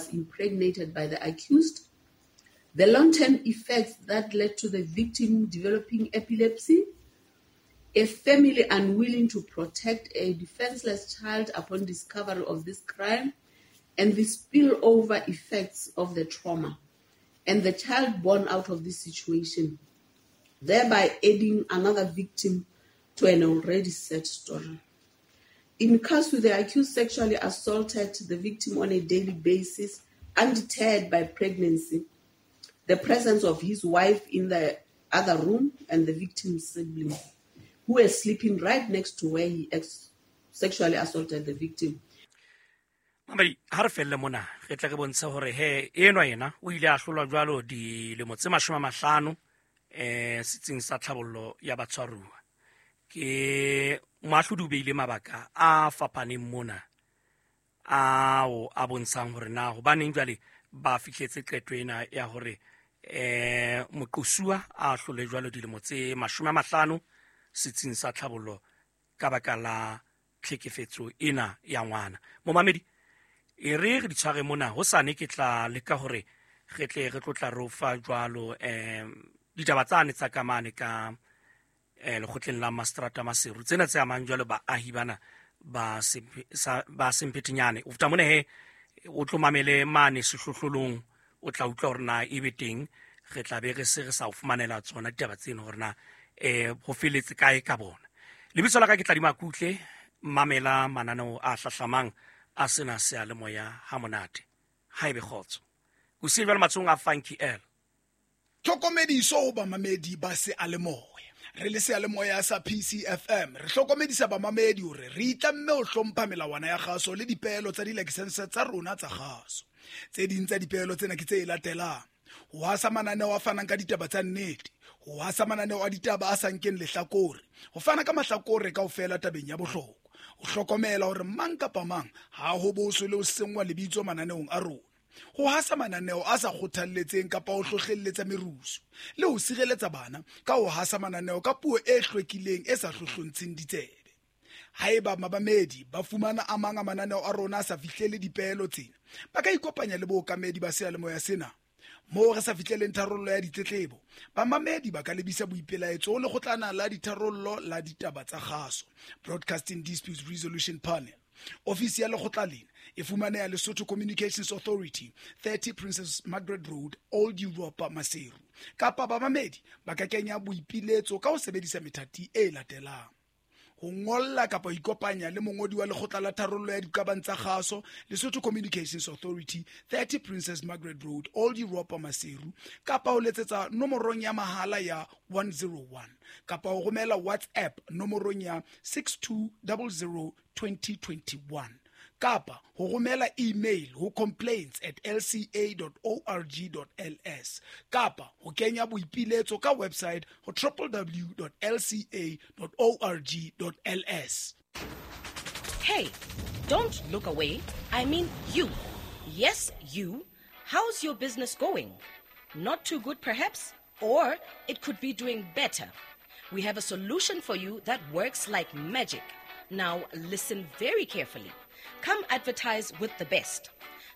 was impregnated by the accused, the long-term effects that led to the victim developing epilepsy, a family unwilling to protect a defenseless child upon discovery of this crime, and the spillover effects of the trauma, and the child born out of this situation, thereby adding another victim to an already sad story. In Kasu, the accused sexually assaulted the victim on a daily basis, undeterred by pregnancy, the presence of his wife in the other room, and the victim's sibling, who were sleeping right next to where he sexually assaulted the victim. Mamadi, ha re felle mona, re tle re bontshe hore he enwa yena o ile a hlolwa jwalo dilemo tse 50 setsing sa tlhabollo ya batshwaruwa. Ke moahlodi o beile mabaka a fapaneng mona ao a bontshang hore na hobaneng jwale ba fihletse qeto ena ya hore moqosuwa a hlole jwalo dilemo tse 50 setsing sa tlhabollo ka baka la tlhekefetso ena ya ngwana. Momamedi, e re re di tshware mona, hosane ke tla leka hore re tle re tlotla re o fa jwalo ditaba tsane tsa kamane ka lekgotleng la Mastrata Maseru, tsena tse amang jwalo baahi bana ba Semphetenyane. O feta mona he o tlo mamele mane sehlohlolong, o tla utlwa hore na ebe teng re tla be re se re sa o fumanela tsona ditaba tseno hore na ho feletse kae ka bona. Lebitso la ka ke Tladima Kutle, mamela mananeo a hlahlamang a sena seyalemoya ha monate. Ha ebe kgotso. Ho siya jwale matsohong a Funky L. Tlhokomediso ho bamamedi ba seyalemoya. Re le seyalemoya sa PCFM, re hlokomedisa bamamedi hore re itlamme ho hlompha melawana ya kgaso le dipeelo tsa dilakesense tsa rona tsa kgaso. Tse ding tsa dipeelo tsena ke tse latelang: ho hasa mananeo a fanang ka ditaba tsa nnete, ho hasa mananeo a ditaba a sa nkeng lehlakore, ho fana ka mahlakore kaofela tabeng ya bohlokwa, ho hlokomela hore mang kapa mang ha ho boswe le ho senngwa lebitso mananeong a rona, ho hasa mananeo a sa kgothalletseng kapa ho hlohlelletsa merusu, le ho sireletsa bana ka ho hasa mananeo ka puo e hlwekileng e sa hlohlontsheng ditsebe. Haeba mabamedi ba fumana a mang a mananeo a rona a sa fihlele dipeelo tsena, ba ka ikopanya le bookamedi ba seyalemoya sena. Moo re sa fihleleng tharollo ya ditletlebo, bamamedi ba ka lebisa boipelaetso ho lekgotlana la ditharollo la ditaba tsa kgaso, Broadcasting Disputes Resolution Panel. Ofisi ya lekgotla lena e fumaneha Lesotho Communications Authority, 30 Princess Margaret Road, Old Europa, Maseru. Kapa bamamedi ba ka kenya boipiletso ka ho sebedisa methati e latelang: ho ngolla kapa ho ikopanya le mongodi wa lekgotla la tharollo ya diqabang tsa kgaso, Lesotho Communications Authority, 30 Princess Margaret Road, Old Europa, Maseru, kapa ho letsetsa nomorong ya mahala ya 101, kapa ho romela WhatsApp nomorong ya 6200 2021, kapa ho romela email ho complaints@lca.org.ls, kapa ho kenya boipiletso ka website ho www.lca.org.ls. Hey, don't look away. I mean you. Yes, you. How's your business going? Not too good, perhaps? Or it could be doing better. We have a solution for you that works like magic. Now, listen very carefully. Come advertise with the best.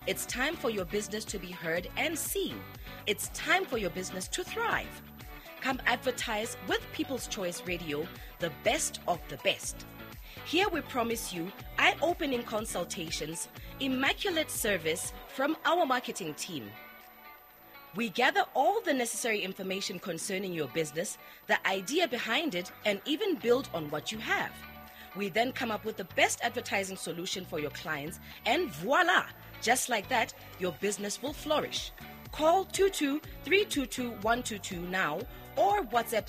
It's time for your business to be heard and seen. It's time for your business to thrive. Come advertise with People's Choice Radio, the best of the best. Here we promise you eye-opening consultations, immaculate service from our marketing team. We gather all the necessary information concerning your business, the idea behind it, and even build on what you have. We then come up with the best advertising solution for your clients, and voila! Just like that, your business will flourish. Call 22-322-122 now or WhatsApp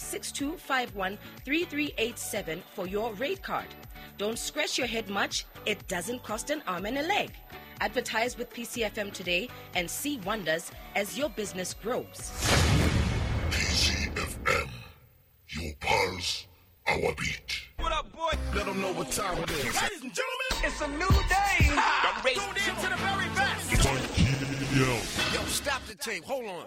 6251-3387 for your rate card. Don't scratch your head much. It doesn't cost an arm and a leg. Advertise with PCFM today and see wonders as your business grows. PCFM, your pulse, our beat. What up, boy? Let them know what time it is. Ladies and gentlemen, it's a new day. I'm tuned in to the very best. Yo, stop the tape. Hold on.